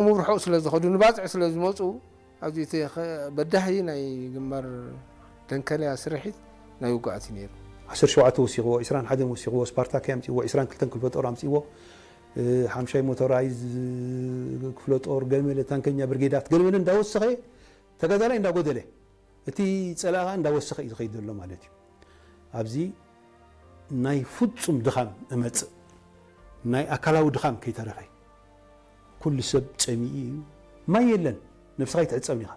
ምብርሑቕ ስለ ዝኸዱ ንባፅዕ ስለ ዝመፁ ኣብዚ እቲ ኸ- በዳሂ ናይ ግንባር ደንከልያ ስርሒት ናይ ውግኣት እዩ ነይሩ። ዓሰርተ ሸውዓተ ወሲኽዎ፣ ዕስራን ሓደን ወሲኽዎ፣ ስፓርታክ ኣምፅዎ፣ ዕስራን ክልተን ክፍለ ጦር ኣምፅዎ፣ ሓምሻይ ሞቶራይዝ ክፍለ ጦር፣ ገለመለ ታንከኛ ብርጌዳት፣ ገለመለ እንዳወሰኸ ተጋዳላይ እንዳጎደለ እቲ ፀላኢ ከዓ እንዳወሰኸ እዩ ዝኸይድ ዘሎ ማለት እዩ። ኣብዚ ናይ ፍፁም ድኻም እመፅእ፣ ናይ ኣካላዊ ድኻም ከይተረፈ ኩሉ ሰብ ፀሚኡ እዩ። ማይ የለን፣ ነብስኻ ይትዕፀብን ኢኻ።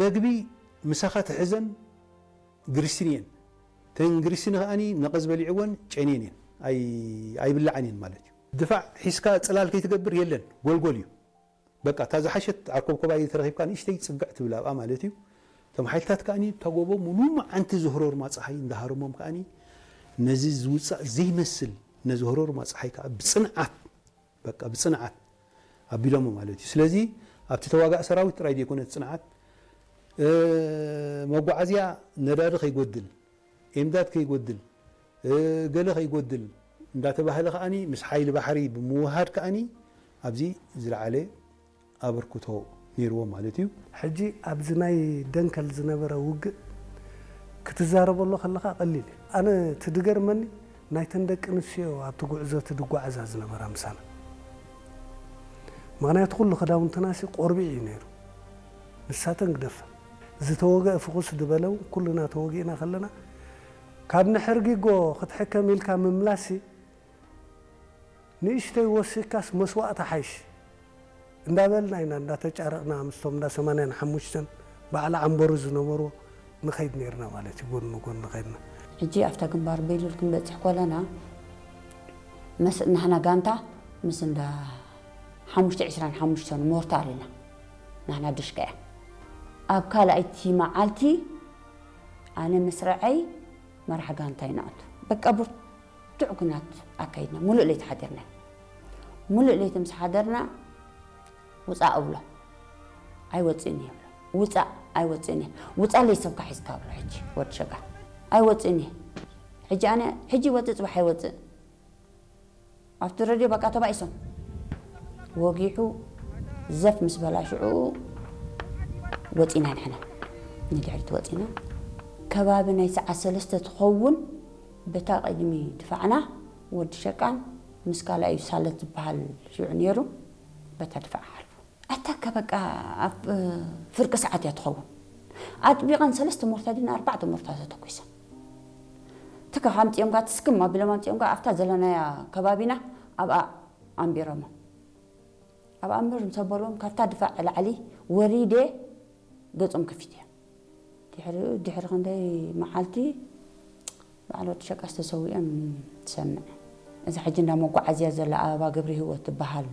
መግቢ ምሳኻ ትሕዘን ግሪስን እየን። ተን ግሪስን ከዓኒ ነቐዝ በሊዕወን ጨንየን እየን፣ ኣይብላዓን እየን ማለት እዩ። ድፋዕ ሒዝካ ፅላል ከይትገብር የለን፣ ጎልጎል እዩ። በቃ እታ ዝሓሸት ዓርኮብኮባይ ተረኺብካ ንእሽተይ ፅግዕ ትብል ኣብኣ ማለት እዩ። እቶም ሓይልታት ከዓኒ እታ ጎቦ ሙሉ መዓንቲ ዝህሮርማ ፀሓይ እንዳሃረሞም ከዓኒ ነዚ ዝውፃእ ዘይመስል ነዚ ህሮርማ ፀሓይ ከዓ ብፅንዓት በቃ ብፅንዓት ኣቢሎሞ ማለት እዩ። ስለዚ ኣብቲ ተዋጋእ ሰራዊት ጥራይ ዘይኮነ ፅንዓት መጓዓዝያ ነዳዲ ከይጎድል ኤምዳድ ከይጎድል ገለ ከይጎድል እንዳተባህለ ከዓኒ ምስ ሓይሊ ባሕሪ ብምውሃድ ከዓኒ ኣብዚ ዝለዓለ ኣበርክቶ ነይርዎ ማለት እዩ። ሕጂ ኣብዚ ናይ ደንከል ዝነበረ ውግእ ክትዛረበሉ ከለኻ ቀሊል እዩ። ኣነ እቲ ድገርመኒ ናይተን ደቂ ኣንስትዮ ኣብቲ ጉዕዞ እቲ ድጓዓዛ ዝነበራ ምሳና። ምኽንያቱ ኩሉ ክዳውንትናሲ ቆርቢዕ እዩ ነይሩ። ንሳተን ግደፈን። ዝተወግአ ፍኹስ ዝበለ እውን ኩልና ተወጊእና ከለና ካብ ንሕርጊጎ ክትሕከም ኢልካ ምምላሲ ንእሽተይ ወሲካስ መስዋእቲ ሓይሽ እንዳበልና ኢና እንዳተጫረቕና ምስቶም እንዳ ሰማንያን ሓሙሽተን በዓል ዓንበሩ ዝነበሩ ንኸይድ ነርና ማለት እዩ። ጎን ንጎን ንኸይድና ሕጂ ኣብታ ግንባር ቤሉል ክንበፅሕ ኮለና መስ ናህና ጋንታ ምስ እንዳ ሓሙሽተ ዕስራን ሓሙሽተን ሞርታር ኢና ናህና ድሽቀ እያ ኣብ ካልኣይቲ መዓልቲ ኣነ ምስረዐይ መራሕ ጋንታ ይንኣቱ በቃ ብርቱዕ ኩናት ኣካይድና ሙሉእ ለይቲ ሓዲርና ሙሉእ ለይቲ ምስ ሓደርና ውፃእ እብሎ ኣይወፅእን እየ እብሎ ውፃእ ኣይወፅእን እየ ውፃለይ ሰብካ ሒዝካ እብሎ ሕጂ ወዲ ሸጋ ኣይወፅእን እየ ሕጂ ኣነ ሕጂ ይወፅእ ፅባሕ ኣይወፅእ ኣብቲ ረድዮ በቃ ተባኢሶም ወጊሑ ዘፍ ምስ በላ ሽዑ ወፂና ንሕና ንድሕሪት ወፂና ከባቢ ናይ ሰዓት ሰለስተ ትኸውን በታ ቅድሚ ድፋዕና ወዲ ሸቃን ምስ ካልኣዩ ሳለት ዝበሃል ሽዑ ነይሩ በታ ድፋዕ ሓልፉ ኣታካ በቃ ኣብ ፍርቂ ሰዓት እያ ትኸውን ኣጥቢቐን ሰለስተ ሞርታ ድና ኣርባዕተ ሞርታ ተተኩሰን ትካ ኣምፂኦም ጋ ትስክም ኣቢሎም ኣምፂኦም ጋ ኣብታ ዘለናያ ከባቢና ኣብኣ ኣንቢሮሞ ኣብ ኣንብር ምስ ኣበልዎም ካብታ ድፋዕ ላዕሊ ወሪደ ገፆም ከፊት እያ ድሕሪ ድሕሪ ክንደይ መዓልቲ በዓል ወዲ ሸቃስ ተሰዊኦም ትሰምዕ እዛ ሕጂ እንዳ መጓዓዝያ ዘላ ኣበባ ገብረ ህይወት ትበሃል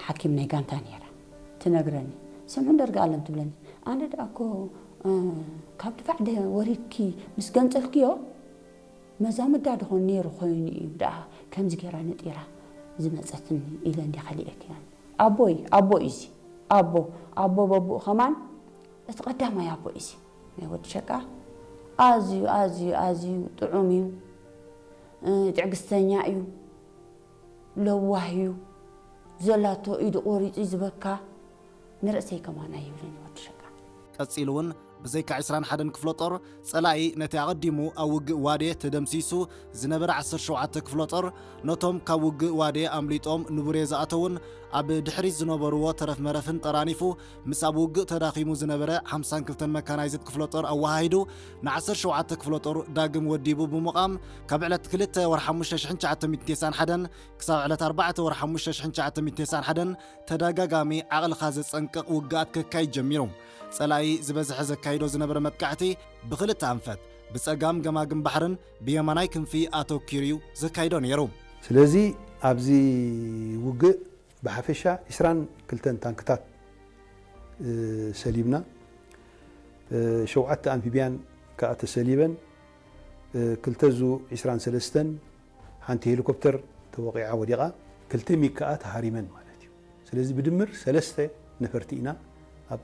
ሓኪም ናይ ጋንታ ነይራ ትነግረኒ ስምዑ ደርጋ ኣለም ትብለኒ ኣነ ደኣ እኮ ካብ ድፋዕ ወሪድኪ ምስ ገንጸልክዮ መዛምዳ ድኾን ነይሩ ኮይኑ እዩ ደኣ ከምዚ ገይራ ነጢራ ዝመጸትኒ ኢለ እንዲ ከሊኤክያን ኣቦይ ኣቦ እዩ እዚ ኣቦ ኣቦ በቡኡ ከማን እቲ ቀዳማይ ኣቦ እዩ እዚ ናይ ወዲ ሸቃ ኣዝዩ ኣዝዩ ኣዝዩ ጥዑም እዩ ትዕግስተኛ እዩ ለዋህ እዩ ዘላቶ ኢዱ ቆሪፁ ዝበካ ንርእሰይ ከማን ኣይብልን ወዲ ሸቃ ቀጺሉ እውን ብዘይካ ዕስራን ሓደን ክፍለ ጦር ጸላኢ ነቲ ኣቐዲሙ ኣብ ውግእ ዋዴ ተደምሲሱ ዝነበረ ዓሰርተ ሸውዓተ ክፍለ ጦር ነቶም ካብ ውግእ ዋዴ ኣምሊጦም ንቡሬ ዝኣተውን ኣብ ድሕሪት ዝነበርዎ ተረፍ መረፍን ጠራኒፉ ምስ ኣብ ውግእ ተዳኺሙ ዝነበረ ሓምሳን ክልተን መካናይዝድ ክፍለ ጦር ኣወሃሂዱ ን ዓሰርተ ሸውዓተ ክፍለ ጦር ዳግም ወዲቡ ብምቓም ካብ ዕለት ክልተ ወርሒ ሓሙሽተ ሽሕን ትሽዓተ ሚእትን ተስዓን ሓደን ክሳብ ዕለት ኣርባዕተ ወርሒ ሓሙሽተ ሽሕን ትሽዓተ ሚእትን ተስዓን ሓደን ተደጋጋሚ ዓቕልኻ ዘጸንቅቕ ውግኣት ከካይድ ጀሚሩ። ጸላኢ ዝበዝሐ ዘካይዶ ዝነበረ መጥቃዕቲ ብኽልተ ኣንፈት ብጸጋም ገማግም ባሕርን ብየማናይ ክንፊ ኣተኲሩ እዩ ዘካይዶ ነይሩ። ስለዚ ኣብዚ ውግእ ብሓፈሻ ዕስራን ክልተን ታንክታት ሰሊብና፣ ሸውዓተ ኣምፊብያን ከኣ ተሰሊበን፣ ክልተ ዙ ዕስራን ሰለስተን ሓንቲ ሄሊኮፕተር ተወቒዓ ወዲቓ፣ ክልተ ሚግ ከኣ ተሃሪመን ማለት እዩ። ስለዚ ብድምር ሰለስተ ነፈርቲ ኢና ኣብ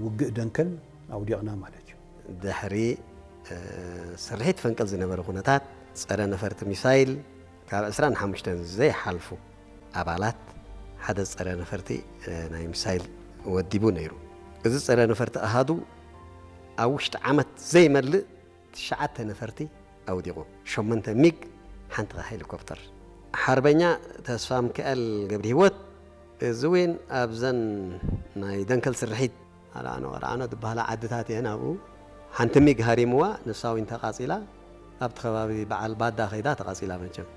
ውግእ ደንከል ኣውዲቕና ማለት እዩ። ድሕሪ ስርሒት ፈንቅል ዝነበረ ኩነታት ጸረ ነፈርቲ ሚሳይል ካብ ዕስራን ሓሙሽተን ዘይሓልፉ ኣባላት ሓደ ጸረ ነፈርቲ ናይ ሚሳይል ወዲቡ ነይሩ። እዚ ጸረ ነፈርቲ ኣሃዱ ኣብ ውሽጢ ዓመት ዘይመልእ ትሽዓተ ነፈርቲ ኣውዲቑ፣ ሸሞንተ ሚግ፣ ሓንቲ ሄሊኮፕተር። ሓርበኛ ተስፋ ሚካኤል ገብረ ህይወት እዚ እውን ኣብዘን ናይ ደንከል ስርሒት ኣርዓኖ ኣርዓኖ ዝበሃላ ዓድታት እየን። ኣብኡ ሓንቲ ሚግ ሃሪምዋ፣ ንሳ እውን ተቓጺላ። ኣብቲ ከባቢ በዓል ባዳ ከይዳ ተቓጺላ። መቸም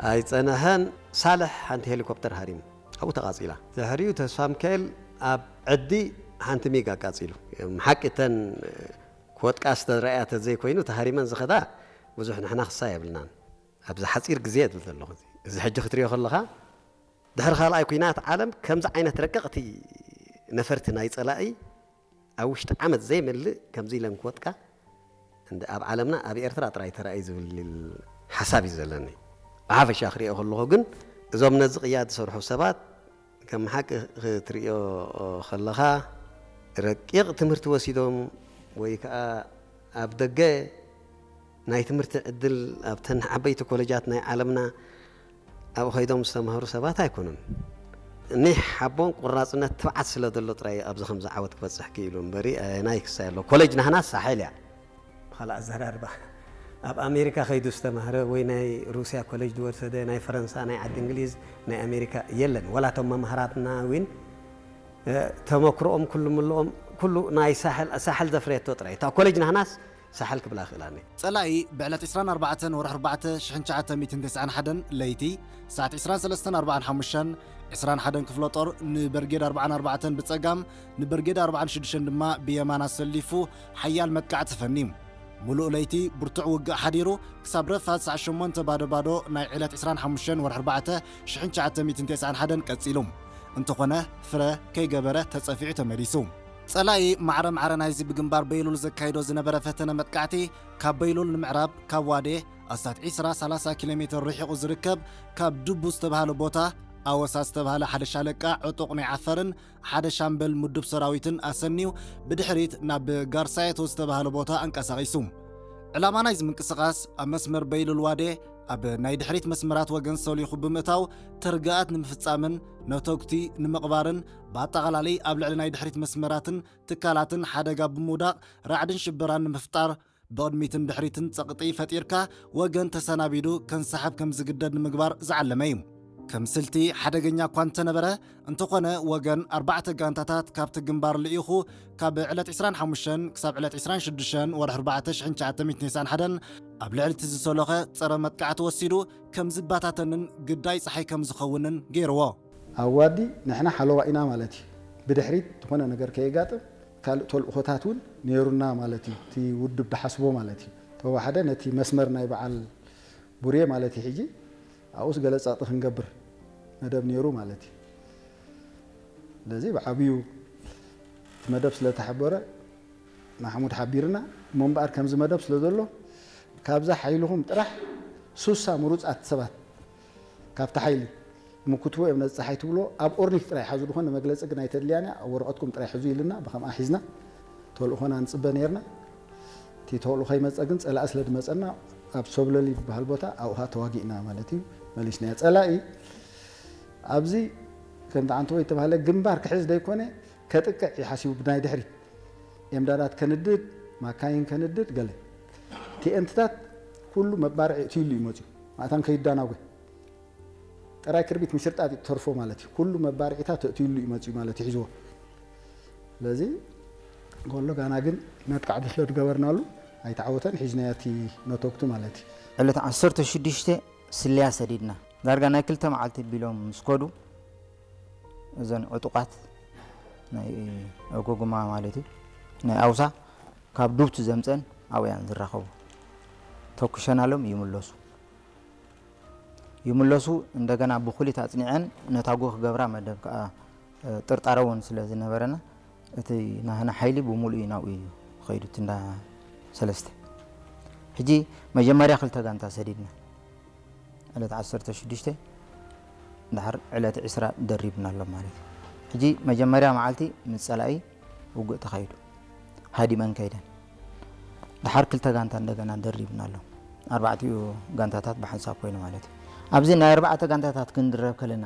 ኣይጸነሐን፣ ሳልሕ ሓንቲ ሄሊኮፕተር ሃሪሙ ኣብኡ ተቓጺላ። ድሕሪኡ ተስፋ ሚካኤል ኣብ ዕዲ ሓንቲ ሚግ ኣቃጺሉ። ሓቂ እተን ክወድቃ ዝተረኣያ ተዘይኮይኑ ተሃሪመን ዝኸዳ ብዙሕ ንሕና ክሳ የብልናን። ኣብዚ ሓጺር ግዜ እብል ዘለኹ፣ እዚ ሕጂ ክትሪኦ ከለኻ ድሕሪ ካልኣይ ኲናት ዓለም ከምዚ ዓይነት ረቀቕቲ ነፈርቲ ናይ ጸላኢ ኣብ ውሽጢ ዓመት ዘይመልእ ከምዚ ኢለን ክወድቃ እንደ ኣብ ዓለምና ኣብ ኤርትራ ጥራይ ተራእዩ ዝብል ሓሳብ እዩ ዘለኒ። ብሓፈሻ ክሪኦ ከለኹ ግን እዞም ነዚ ቅያ ዝሰርሑ ሰባት ከም ሓቂ ክትሪኦ ከለኻ ረቂቕ ትምህርቲ ወሲዶም ወይ ከዓ ኣብ ደገ ናይ ትምህርቲ ዕድል ኣብተን ዓበይቲ ኮለጃት ናይ ዓለምና ኣብኡ ከይዶም ዝተማህሩ ሰባት ኣይኮኑን። ኒሕ ሓቦን ቁራጽነት ትብዓት ስለ ዘሎ ጥራይ ኣብዚ ከምዚ ዓወት ክበጽሕ ክኢሉ እምበሪ ኣየናይ ክሳይ ኣሎ። ኮለጅ ናህና ሳሕል እያ። ብኻልእ ኣዘራርባ ኣብ ኣሜሪካ ከይዱ ዝተማህረ ወይ ናይ ሩስያ ኮለጅ ዝወሰደ ናይ ፈረንሳ ናይ ዓዲ እንግሊዝ ናይ ኣሜሪካ የለን። ወላ እቶም መምሃራትና እውን ተመክሮኦም ኩሉ ምልኦም ኩሉ ናይ ሳሕል ሳሕል ዘፍረየቶ ጥራይ እታ ኮለጅ ናህናስ ሳሕል ክብላ ክእላኒ። ጸላኢ ብዕለት ዕስራን ኣርባዕተን ወርሒ ኣርባዕተ ሽሕን ትሽዓተ ሚእትን ተስዓን ሓደን ለይቲ ሰዓት ዕስራን ሰለስተን ኣርባዓን ሓሙሽተን ዕስራን ሓደን ክፍለ ጦር ንበርጌድ ኣርባዓን ኣርባዕተን ብጸጋም ንበርጌድ ኣርባዓን ሽዱሽተን ድማ ብየማን ኣሰሊፉ ሓያል መጥቃዕቲ ፈንዩ። ሙሉእ ለይቲ ብርቱዕ ውግእ ሓዲሩ ክሳብ ረፋድ ሰዓት ሸሞንተ ባዶ ባዶ ናይ ዕለት ዕስራን ሓሙሽተን ወርሒ ኣርባዕተ ሽሕን ትሽዓተ ሚእትን ተስዓን ሓደን ቀጺሉ። እንተኾነ ፍረ ከይገበረ ተጸፊዑ ተመሊሱ። ጸላኢ ማዕረ ማዕረ ናይዚ ብግንባር በይሉል ዘካይዶ ዝነበረ ፈተነ መጥቃዕቲ ካብ በይሉል ንምዕራብ ካብ ዋዴ ኣስታት ዕስራ ሰላሳ ኪሎ ሜትር ርሒቑ ዝርከብ ካብ ድቡ ዝተባህለ ቦታ ኣወሳ ዝተባህለ ሓደ ሻለቃ ዕጡቕ ናይ ዓፈርን ሓደ ሻምበል ምዱብ ሰራዊትን ኣሰንዩ ብድሕሪት ናብ ጋርሳየቶ ዝተባህለ ቦታ ኣንቀሳቒሱ። ዕላማ ናይዚ ምንቅስቓስ ኣብ መስመር በይሉል ዋዴ ኣብ ናይ ድሕሪት መስመራት ወገን ሰሊኹ ብምእታው ተርግኣት ንምፍጻምን ነተጉቲ ንምቕባርን ብኣጠቓላሊ ኣብ ልዕሊ ናይ ድሕሪት መስመራትን ትካላትን ሓደጋ ብምውዳቕ ራዕድን ሽበራን ንምፍጣር ብቕድሚትን ድሕሪትን ጸቕጢ ፈጢርካ ወገን ተሰናቢዱ ከንሰሓብ ከም ዝግደድ ንምግባር ዝዓለመ እዩ። ከም ስልቲ ሓደገኛ እኳ እንተነበረ፣ እንተኾነ ወገን ኣርባዕተ ጋንታታት ካብቲ ግንባር ልኢኹ ካብ ዕለት ዕስራን ሓሙሽተን ክሳብ ዕለት ዕስራን ሽዱሽተን ወርሒ ኣርባዕተ ሽሕን ትሽዓተ ሚእትን ተስዓን ሓደን ኣብ ልዕሊ እቲ ዝሰሎኸ ጸረ መጥቃዕቲ ወሲዱ ከም ዝበታተንን ግዳይ ጸሓይ ከም ዝኸውንን ገይርዎ። ኣዋዲ ንሕና ሓለዋ ኢና ማለት እዩ። ብድሕሪት ዝኾነ ነገር ከየጋጥም ካልእ ተልእኾታት እውን ነይሩና ማለት እዩ። እቲ ውድብ ድሓስቦ ማለት እዩ። ተወሓደ ነቲ መስመር ናይ በዓል ቡሬ ማለት እዩ። ሕጂ ኣብኡስ ገለ ጸቕጢ ክንገብር መደብ ነይሩ ማለት እዩ። ስለዚ ብዓብዩ እቲ መደብ ስለ ተሓበረ ንሓሙድ ሓቢርና እሞ እምበኣር ከምዚ መደብ ስለ ዘሎ ካብዛ ሓይልኹም ጥራሕ ሱሳ ምሩጻት ሰባት ካብቲ ሓይሊ ምክትቦ እዮም ነዚ ጸሓይ ትብሎ ኣብ ኦርኒክ ጥራይ ሓዙ ዝኾነ መግለጺ ግን ኣይተድልያን እያ ኣብ ወረቐትኩም ጥራይ ሕዙ ኢልና ብኸምኣ ሒዝና ተልእኾና ንጽበ ነይርና። እቲ ተልእኾ ይመጸ ግን ጸላኢ ስለ ዝመጸና ኣብ ሶብለሊ ዝበሃል ቦታ ኣብኡ ኸኣ ተዋጊእና ማለት እዩ መሊስናዮ። ጸላኢ ኣብዚ ከምቲ ዓንተቦ ዝተባህለ ግንባር ክሕዝ ዘይኮነ ከጥቅዕ እዩ ሓሲቡ ብናይ ድሕሪት ኤምዳዳት ከንድድ ማካይን ከንድድ ገለ ቲኤንትታት ኩሉ መባርዒ እትይሉ እዩ መፅዩ ማእታን ከይዳናጎ ጥራይ ክርቢት ምሽርጣት እዩ ተርፎ ማለት እዩ ኩሉ መባርዒታት እትይሉ እዩ መፅዩ ማለት እዩ ሒዝዎ ስለዚ ጎሎ ጋና ግን መጥቃዕቲ ስለ ዝገበርናሉ ኣይተዓወተን ሒዝናዮ እቲ ነተግቱ ማለት እዩ ዕለት ዓሰርተ ሽዱሽተ ስልያ ሰዲድና ዳርጋ ናይ ክልተ መዓልቲ ቢሎም ምስ ከዱ እዘን ዕጡቓት ናይ ኦጎጉማ ማለት እዩ ናይ ኣውሳ ካብ ዱብቲ ዘምፀን ኣብያን ዝራኸቡ ተኩሸናሎም ይምለሱ ይምለሱ እንደገና ብኩሊት ኣፅኒዐን ነታጉ ክገብራ መደብ ከዓ ጥርጣረ እውን ስለ ዝነበረና እቲ ናህና ሓይሊ ብሙሉእ እዩ ናብኡ እዩ ኸይዱ እቲ እንዳ ሰለስተ ሕጂ መጀመርያ ክልተ ጋንታ ሰዲድና ዕለት ዓሰርተ ሽዱሽተ ድሓር ዕለት ዕስራ ደሪብና ኣሎ ማለት እዩ ሕጂ መጀመርያ መዓልቲ ምስ ፀላኢ ውግእ ተኻይዱ ሃዲመን ከይደን ድሓር ክልተ ጋንታ እንደገና ደሪብና ኣሎ ኣርባዕቲኡ ጋንታታት ብሓንሳብ ኮይኑ ማለት እዩ ኣብዚ ናይ ኣርባዕተ ጋንታታት ክንድረብ ከለና